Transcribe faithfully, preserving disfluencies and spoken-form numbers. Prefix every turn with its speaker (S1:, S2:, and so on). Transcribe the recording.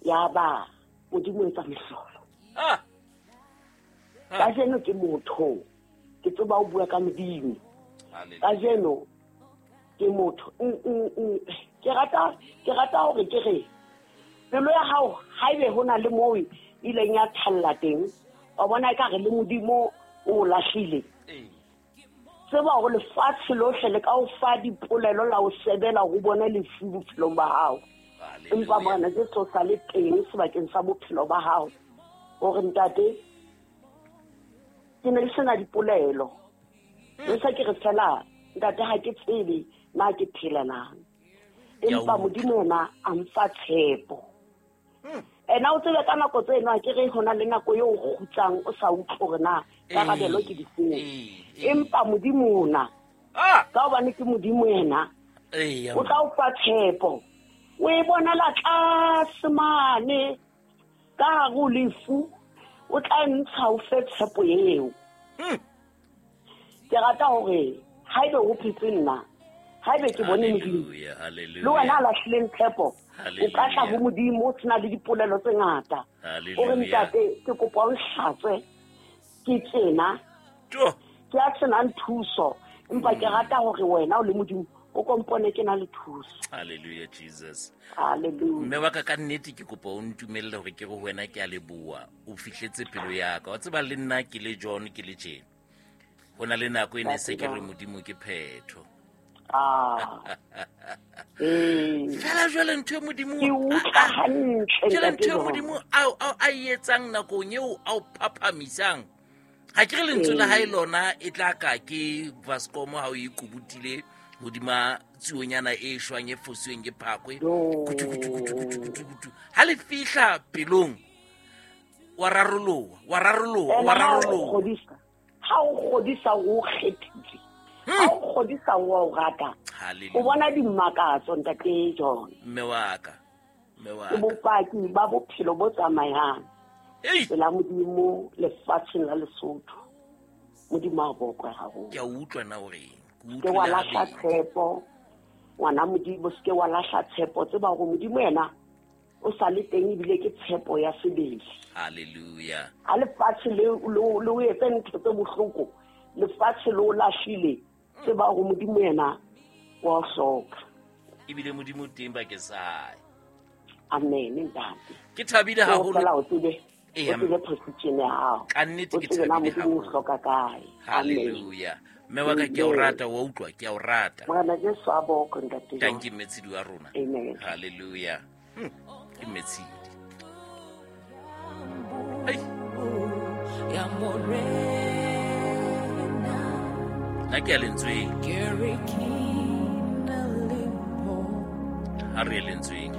S1: Ya ba Modimo etsa mehlolo.
S2: Ah.
S1: Kajeno ke motho. Ke tseba o bua ka Modimo. Kajeno ke motho. Ke rata ke rata hore ke re pelo ya hao haebe hona le moo ileng ya thalla teng, wa bona e ka re le Modimo o lahlile. Tseba hore lefatshe lohle le ka o fa dipolelo la o sebela ho bona lefu bophelong ba hao. Empa Morena Jesu o sa le teng sebakeng sa bophelo ba hao. Hore ntate ke ne ke sena dipolelo. Le sa ke re fela ntate ha ke tsebe na ke phela na. Empa Modimo yena a mfa tshepo. Ena o tsebe ka nako tseno a ke re hona le nako eo o kgutsang o sa utlwe hore na karabelo ke difeng. Empa Modimo ona ka hobane ke Modimo yena o tla o fa tshepo. O e bonela tlase mane ka hare ho lefu, o tla ntsha o fe tshepo eo. Ke rata hore haebe ho phetse nna, haebe ke bone Modimo, le wena a lahlileng tshepo, o ka tla ho Modimo o sena le dipolelo tse ngata. O re ntate ke kopa o nhlatswe ke tsena, ke a senang thuso, empa ke rata hore wena o le Modimo o kompone ke na le thuso.
S2: Hallelujah Jesus.
S1: Hallelujah.
S2: Mme wa ka ka nnete ke kopa o ntumelle hore ke re ho wena ke a leboha, o fihletse pelo ya ka. Wa tseba le nna ke le John ke le tjena. Ho na le nako e ne se ke re Modimo ke phetho.
S1: Ah. Eh.
S2: Fela jwale ntho e Modimo
S1: ke utlwa hantle
S2: jwale ntho e Modimo a a etsang nakong eo a o phaphamisang. Ha ke re lentswe la hae lona e tla ka ke Vascomo ha o ikubutile hodima tsuonyana e shwang e fosweng ke phakwe. Kutu kutu kutu kutu kutu kutu. Ha le fihla pelong wa raroloha, wa raroloha, wa raroloha.
S1: Ha o kgodisa o kgethile. Ha o kgodisa o rata. O bona dimakatso ntate John.
S2: Mme wa ka. Mme wa
S1: ka. Bopaki ba bophelo bo tsamayang. Pela Modimo lefatsheng la Lesotho. Modimo a bokwe haholo.
S2: Ke a utlwa na hore
S1: ke wa lahla tshepo. Ngwana Modimo se ke wa lahla tshepo, tseba hore Modimo yena o sa le teng ebile ke tshepo ya sebele.
S2: Hallelujah.
S1: Ha lefatshe le le o etse ntho tse bohloko, lefatshe le o lahlile, tseba hore Modimo yena wa hloka.
S2: Ebile Modimo teng bakeng sa hae.
S1: Amen ntate.
S2: Ke thabile haholo.
S1: O tsebe. O tsebe position ya hao.
S2: Ka nnete ke thabile haholo.
S1: O hloka kae.
S2: Hallelujah. Mme wa ka ke a o rata, wa utlwa ke a o rata.
S1: Morena Jesu a bokwe ntate.
S2: Thank you Mmetshidi wa rona.
S1: Amen.
S2: Hallelujah. Hmm. Ke Mmetshidi. Ai.
S3: Ya Morena.
S2: Na ke a lentsweng.
S3: Ke re ke na le
S2: Ha re lentsweng.